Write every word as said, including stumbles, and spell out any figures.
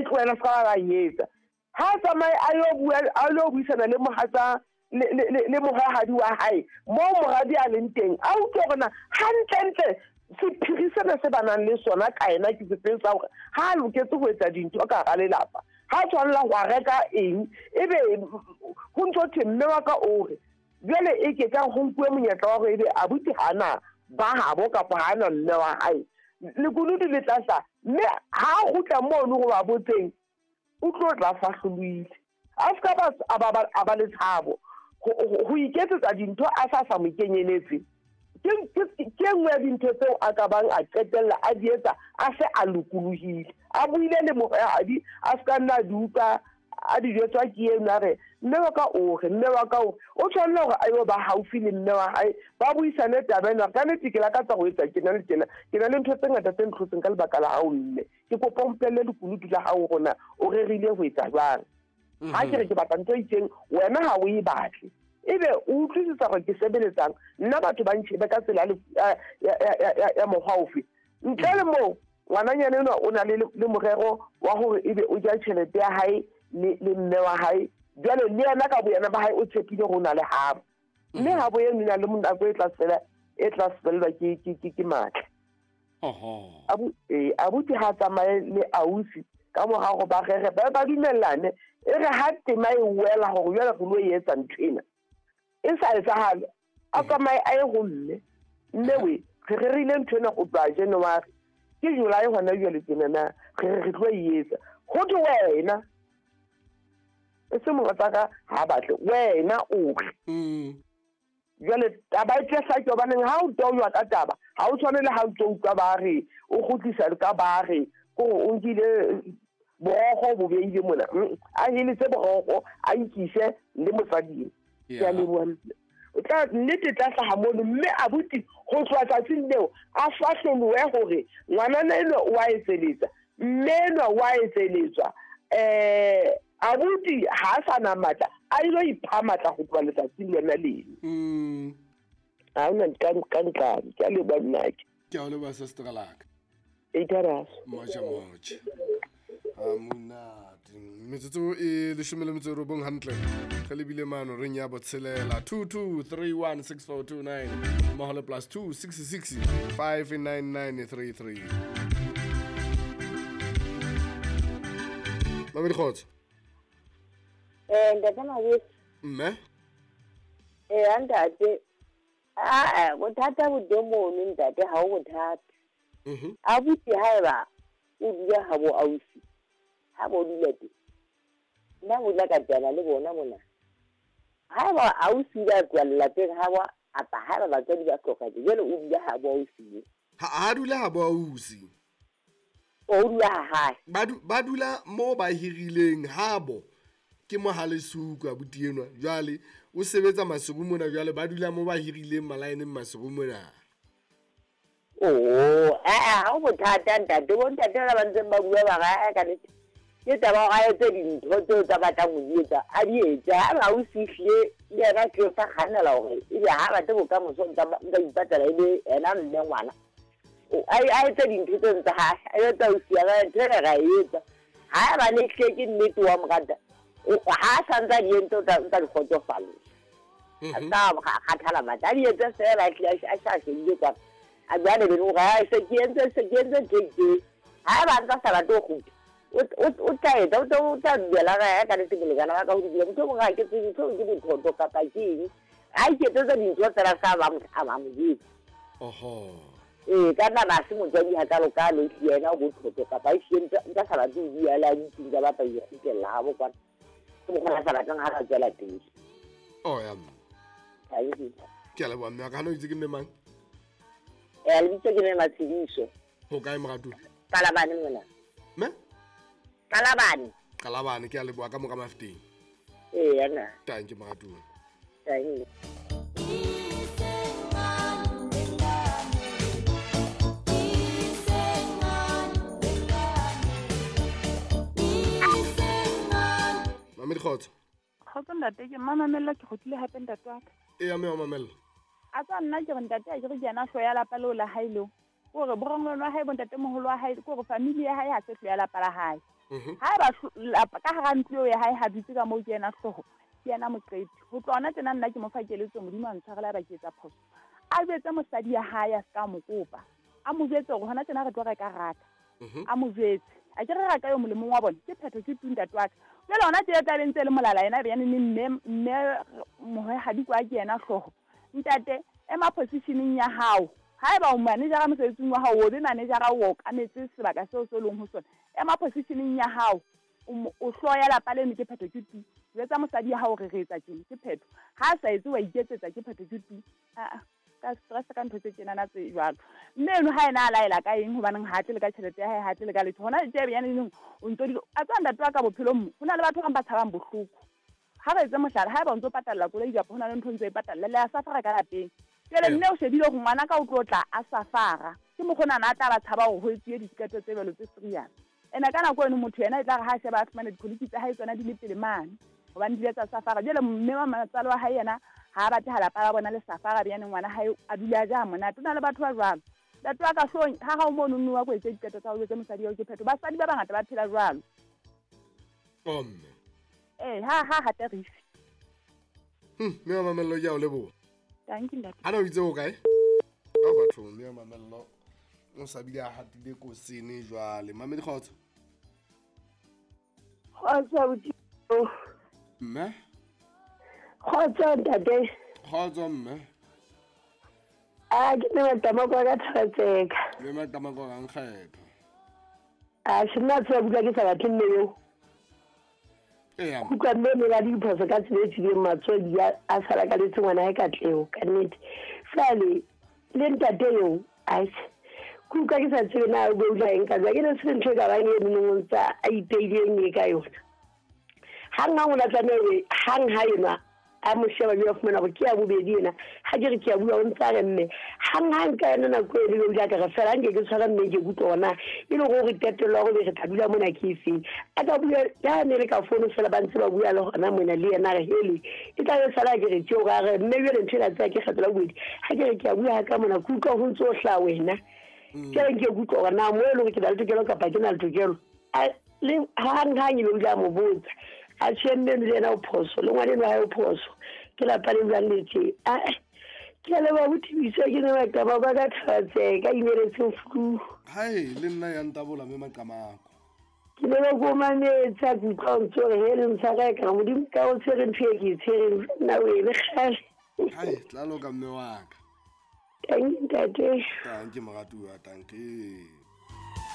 tlohela ska ba etsa ha tsamaye a yo bua a lo buisana le mohatsa le le le mohahadi wa hae mo moradi a leng teng a utlwe hore na hantlentle sephiri sena se ba nang le sona ka ena ke sefeng sa hore ha a loketse ho etsa dintho ka hara lelapa ha tshwanela ho reka eng ebe ho ntso thwe mme wa ka o re jwale e ke ka ho nkuwe monyetla wa hore ebe abuti hana ba habo kapa hana mme wa hae lekunutu le tlasa mme ha kgutla mono go ba botseng o tlo tla fahloloile a ska ba a ba le tshabo ho iketsetsa dintho a sa sa mo kenyeletse ke ke nngwe ya dintho tseo a ka bang a qetella a di etsa a se a lokolohile a buile le mohadi a ska nna di utlwa a di jwetswa ke eno a re mme wa ka o re mme wa ka o o tshwanela hore a yo ba haufi le mme wa hae ba buisane taba ena ka nnete ke lakatsa ho etsa tjena le tjena ke na le ntho tse ngata tse ntlhotseng ka lebaka la hao mme ke kopa o mpelle lekunutu la hao rona o rerile ho etsa jwang ha ke re ke batla ntho e itseng wena ha o e batle ebe o utlwisisa hore ke sebeletsang nna batho ba ntjhebe ka tsela ya mokgwa ofe ntle le moo ngwananyana enwa o na le le morero wa hore ebe o ja tjhelete ya hae le le mme wa hae jwale le yena ka boyena ba hae o tshepile hore o na le habo mme habo eno e na le nako e tla fela e tla fellwa ke ke ke ke matla oho abu eh abuti ha tsamaye le ausi ka mora hore ba rere ba ba dumellane e re ha tema e wela hore jwale re lo etsa ntho ena e sa etsahale a tsamaye a ye ho mme mme we re rerile ntho ena go tloha January ke July hona jwale tjena na re re tlo e etsa ho thwe wena e se mohatsaka ha batle wena o re jwale taba e tle hlake hobaneng ha o toywa ka taba ha o tshwane le ha o tlo utlwa ba re o kgutlisa ka ba re kore o nkile borokgo bo beile mona a heletse borokgo a ikise le mosading ke a leboha o tla nnete tla hlaha mono mme abuti ho tloha tsatsing leo a fahlolohe hore ngwanana enwa o a etseletsa mme enwa o a etseletswa eh abuti ha a sa na matla a ilo ipha matla ho tloha letsatsing lona leno mm ha ona ka ka ntlane ke a leboha nnake ke a leboha sister laka e moja moja a monate metsotso e leshome le metso e robong hantle re lebile mano reng ya botshelela two two three one six four two nine mmoho le plus two six six five nine nine three three Mamedi kgotso eh ntate Mabese mme eh ntate a bothata bo teng mono ntate ha o bothata mhm abuti haeba o dula ha bo ausi ha bo dula teng nna bo dula ka tjana le bona mona haeba ausi ba tloha lelapeng ha bo apa haeba batswadi ba hlokahetse jwale o dula ha bo ausi ha ha dula ha bo ausi o dula ha hae ba ba dula mo ba hirileng habo ke mo Halesuku abuti enwa jwale o sebetsa Maseru mona jwale ba dula mo ba hirileng malaeneng Maseru mona oh eh ha o bothata ntate bo ntate ba ba ntseng ba bua ba ga ka nnete ke taba hore a etse dintho tseo tsa batlang ho di etsa a di etse ha ba o fihlile le yena ke sa kgannela hore ebe ha batle bokamoso nka nka ipatala ebe ena mme ngwana a a etse dintho tseo tsa hae a etsa o sia ka ntho e ra e etsa ha ba ne hle ke nnete wa mo rata ha sa ntsa di entse o tla ntsa di kgotsofalla a sa kgathala matla a di etse fela a hlile a sa shebile kwana a jwale be hore ha se ke entse se ke entse ntho e itseng ha ba ntsa sa batle ho kgutla o tla etsa o tla duela ga ka nnete molekane wa ka ho dula motho o mongwe ha ke tsebe ntho ke bothoto kapa ke eng ha iketsetsa dintho fela sa ba a ba mo jwetsa oho ee ka nna ha se motswadi hakalokalo ehlile yena o bothoto kapa ehlile ntsa sa batle ho bua le a dutseng tsa batla ho ikgutlella habo kwana ke mokgwa a sa batlang ha ka tswela pele oh ya ke a leboha mme wa ka hana o itse ke mme mang eh lebitso ke mme Matshediso ho kae moratuwa Qalabane mona mme Qalabane Qalabane ke a leboha ka moka Mafeteng ee yana tanki moratuwa tanki Mamedi kgotso kgotso ntate ke mmamamella ke kgutlile hape ntate wa ka ee ya mme wa mamella a tsa nna ke re ntate a ke re ke yena hlooho ya lapa leo la hae leo kore borongwana wa hae bo ntatemoholo wa hae kore family ya hae ha se hlooho ya lapa la hae Haeba ka hara ntlo ya hae ha dutse ka moo ke yena hlooho, ke yena moqeti. Ho tloha hona tjena nna ke mo fa keletso, Modimo a ntshwarele haeba ke etsa phoso. A jwetse mosadi ya hae a ska mo kopa. A mo jwetse hore hona tjena re tlo reka raka. A mo jwetse. A ke re raka eo molemong wa bona, ke phetho ke tu ntate wa ka. Jwale hona tje tla be ntse le molala yena be yane mme mme mohwehadi kwa ke yena hlooho. Ntate ema positioning ya hao. Haeba o manager mosebetsing wa hao, o be manager o okametse sebaka seo se leng ho sona. Ema positioning ya hao, o hloya lapa leno ke phetho ke tu. Jwetsa mosadi ya hao re re etsa tjena ke phetho. Ha a sa etse wa iketsetsa ke phetho ke tu. A ka stress ka ntho tse tjena na tse jwalo. Mme eno ha ena a laela ka eng hobaneng ha tle le ka tjhelete ya hae, ha tle le ka letho. Hona tje be yane neng o ntso di a tswa ntate wa ka bophelong mo. Hona le batho ba tshabang bohloko. Ha re etse mohlala, haeba o ntso patalla koloi kapa hona le ntho ntso e patalla le a safara ka lapeng. Jwale mme o shebile hore ngwana ka o tlo tla a safara. Ke mokgona na tla ba tshaba hore ho etsuwe diketo tse jwalo tse serious. Ena ka nako eno motho yena e tla re ha sheba a fumane dikoloi tsa hae tsona di le pele mane. Hobane di tsa safara. Jwale mme wa matsalo wa hae yena ha ba batla lapa la bona le safara be yena ngwana hae a dula ja monate. Ona le batho ba jwalo. Ntate wa ka hlong ha ha o mono nno wa ko etse diketo tsa ho jwetse mosadi wa ke phetho. Basadi ba bangata ba phela jwalo. Omme. Eh ha ha ha tarifi. Hm, mme wa Mamello ke a o leboha. Thank you ntate. Ana o itse o kae? Ka batho mme wa Mamello o sa bile a hatile kosene jwale. Mamedi kgotso. Kgotso abuti. Mme? Kgotso ntate. Kgotso mme. A ke ne matamako ka thatseka. Le matamako ka nkgetho. A se nna tsa bua ke sa batle mme eo. Ee. Kutlwa mme mme ba diphoso ka tsela e tswileng matswedi a sala ka letse ngwana hae katleho ka nnete. Jwale le ntate eo aitjhe kutlwa ke sa tsebe na o beula eng ka jwang, ke ne se ntho e ka bang e nong tsa a ipeileng e ka yona. Hang hang o la tlameha hore hang ha enwa a mo sheba mme a fumana hore ke ya bobedi ena. Ha ke re ke a bua o ntsa re mme hang hang ka yona nako e le o ile ka re fela nke ke tshwara mme ke kutlwa hore na e le hore qetello ya hore re tla dula mona ke efeng. A ka bua ya ne le ka fono fela ba ntse ba bua le hona mona le yena re hele e tla be sala ke re tjeo ka re mme jwale ntho ena tsa ke kgetho la bobedi. Ha ke re ke a bua ka mona ke utlwa ho ntso hla wena. Ke re ke kutlwa hore na mo e le hore ke na le tokelo kapa ke na le tokelo. Le hang hang e be o ile a mo botsa. A tjhe mme le yena o phoso le ngwana enwa hae o phoso ke lapa le jwang le tje. A ke a leboha boThabisa ke ne maqama ba ka thatseka imeletseng flu. Hai le nna ya ntabola mme maqamako. Ke ne ba ko mametsa ke utlwa ntse hore he le ntshwara ka Modimo ka o tshwere ntho e ke e tshwereng nna o e le kgale. Hai tla loka mme wa ka. Thank you ntate. Thank you moratuwa, thank you.